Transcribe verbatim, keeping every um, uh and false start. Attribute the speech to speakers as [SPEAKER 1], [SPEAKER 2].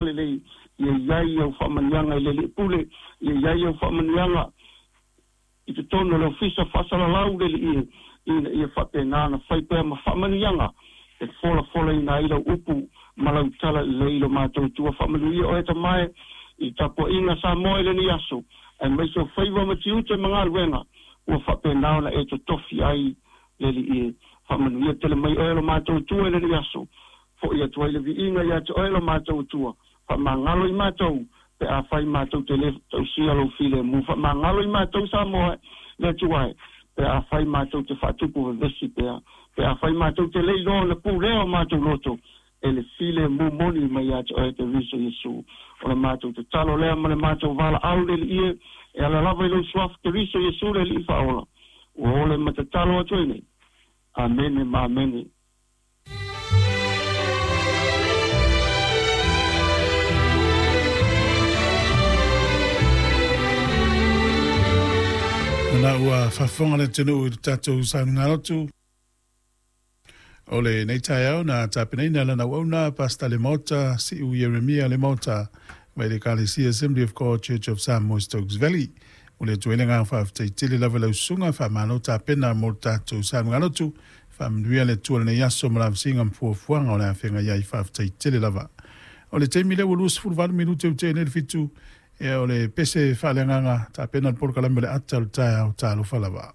[SPEAKER 1] Lelei ia i ai au faamanuiaga i le Alii Pule, ia i ai au faamanuiaga i totonu o le ofisa faasalalau le Alii, ina ia faapena ona fai pea ma faamanuiaga e folafolaina ai lau upu ma lau tala lelei i lo matou Atua. Faamanuia oe tamae i tapuaiga Samoa i lenei aso, aemaise o faiva ma tiute ma galuega ua faapena ona e totofi ai le Alii. Faamanuia tele mai oe lo matou Atua i lenei aso, fo'i atu ai le viiga ia te oe lo matou Atua. Faamagalo i matou pe afai matou te le tausia lou filemu. Faamagalo i matou Samoa le Atua e, pe afai matou te faatupu vevesi pea, pe afai matou te le iloa ona pulea o matou loto e le filemu moni mai ia te oe Keriso Iesu. O le matou tatalo lea ma le matou valaau le Alii e ala lava i lou suafa Keriso Iesu le Alii faaola, ua ole ma tatalo atu ai nei. Amene ma amene.
[SPEAKER 2] Na ua faafofoga le atunuu i le tatou saunoaga o lenei taeao na tapenaina lana auauna Pastor le Maota Siu Ieremia le Maota mai le Ekalesia Assembly of God Church of Samoa Stokes Valley. O le atu ai le agaga faafetai tele lava i lau susuga, faamalo tapena mo le tatou saunoaga. Faamanuia le Atua i lenei aso ma lavasiga ma fuafuaga o le afega i ai, faafetai tele lava. O le taimi lea ua luasefuluvalu minute ua tea nei le fitu, ia o le pese faaleagaga tapena le polokalame o le ata o le taeao, talofa lava.